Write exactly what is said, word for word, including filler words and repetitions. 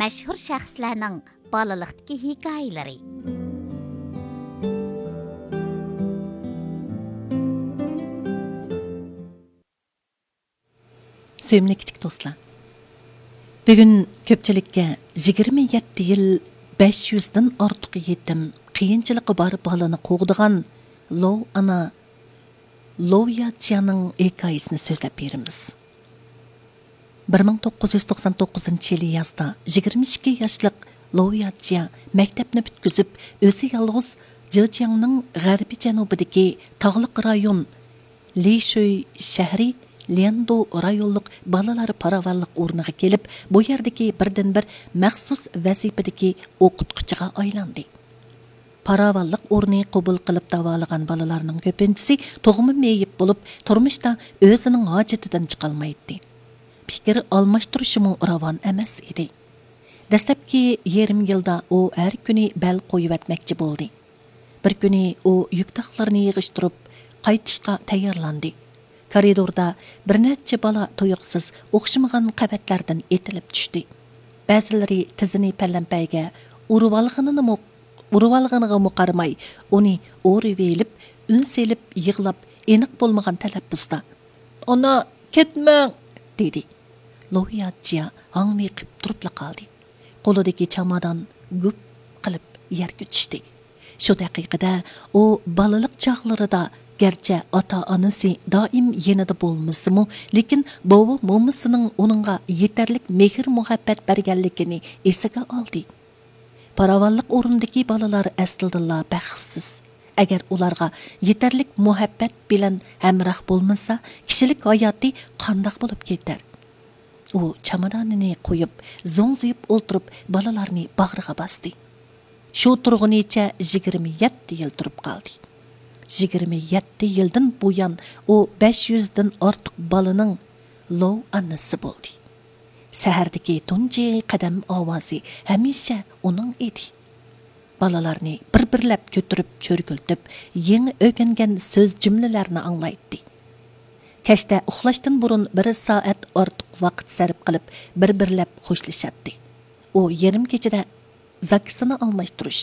مەشھۇر شەخسلەرنىڭ بالىلىقتىكى ھېكايىلىرى. سۆيۈملۈك كىچىك دوستلار، بۈگۈن كۆپچىلىككە يىگىرمە يەتتە يىل، بەش يۈزدىن ئارتۇق يېتىم، قىيىنچىلىقى بار بالىنى قوغدىغان لوۋ ئانا، لوۋ ياچيانىڭ ھېكايىسىنى سۆزلەپ بېرىمىز. بىر مىڭ توققۇز يۈز توقسان توققۇزىنچى يىلى يازدا يىگىرمە ئىككى ياشلىق لوۋ ياچيا مەكتەپنى پۈتكۈزۈپ، ئۆزى يالغۇز جېجياڭنىڭ غەربىي جەنۇبىدىكى تاغلىق رايون لىشۈي شەھىرى ليەندۇ رايونلۇق بالىلار پاراۋانلىق ئورنىغا كېلىپ، بۇ يەردىكى بىردىنبىر مەخسۇس ۋەزىپىدىكى ئوقۇتقۇچىغا ئايلاندى. پاراۋانلىق ئورنى قوبۇل قىلىپ داۋالىغان بالىلارنىڭ كۆپىنچىسى تۇغما مېيىپ بولۇپ، تۇرمۇشتا ئۆزىنىڭ ھاجىتىدىن چىقالمايتتى. پىكىر ئالماشتۇرۇشىمۇ راۋان ئەمەس ئىدى. دەسلەپكى يېرىم يىلدا ئۇ ھەر كۈنى بەل قويۇۋەتمەكچى بولدى. بىر كۈنى ئۇ يۈك تاقلىرىنى يىغىشتۇرۇپ، قايتىشقا تەييارلاندى. كارىدوردا بىر نەچچە بالا تۇيۇقسىز ئوخشىمىغان قەۋەتلەردىن ئېتىلىپ چۈشتى. بەزىلىرى تىزىنى پەلەمپەيگە ئۇرۇۋالغىنىنىمۇ، ئۇرۇۋالغىنىغىمۇ قارىماي، ئۇنى ئورىۋېلىپ، ئۈن سېلىپ يىغلاپ، ئېنىق بولمىغان تەلەپپۇزدا، «ئانا، كەتمەڭ!» دېدى. لوۋيا جيا ھاڭۋېقىپ تۇرۇپلا قالدى. قولىدىكى چامادان گۈپ قىلىپ يەرگە چۈشتى. شۇ دەقىقىدە ئۇ بالىلىق چاغلىرىدا، گەرچە ئاتا-ئانىسى دائىم يېنىدا بولمىسىمۇ، لېكىن بوۋا-مومىسىنىڭ ئۇنىڭغا يېتەرلىك مېھىر-مۇھەببەت بەرگەنلىكىنى ئېسىگە ئالدى. پاراۋانلىق ئورنىدىكى بالىلار ئەسلىدىنلا بەختسىز. ئەگەر ئۇلارغا يېتەرلىك مۇھەببەت بىلەن ھەمراھ بولمىسا، كىشىلىك ھاياتى قانداق بولۇپ كېتەر؟ ئۇ چامادانىنى قويۇپ، زوڭزىيىپ ئولتۇرۇپ، بالىلارنى باغرىغا باستى. شۇ تۇرغىنىچە يىگىرمە يەتتە يىل تۇرۇپ قالدى. يىگىرمە يەتتە يىلدىن بۇيان ئۇ بەش يۈزدىن ئارتۇق بالىنىڭ لوۋ ئانىسى بولدى. سەھەردىكى تۇنجى قەدەم ئاۋازى ھەمىشە ئۇنىڭ ئىدى. بالىلارنى بىر-بىرلەپ كۆتۈرۈپ، چۆرگۈلىتىپ، يېڭى ئۆگەنگەن سۆز جۈملىلەرنى ئاڭلايتتى. كەچتە ئۇخلاشتىن بۇرۇن بىر سائەت ئارتۇق ۋاقىت سەرپ قىلىپ، بىر-بىرلەپ خوشلىشاتتى. ئۇ يېرىم كېچىدە زاكىسىنى ئالماشتۇرۇش،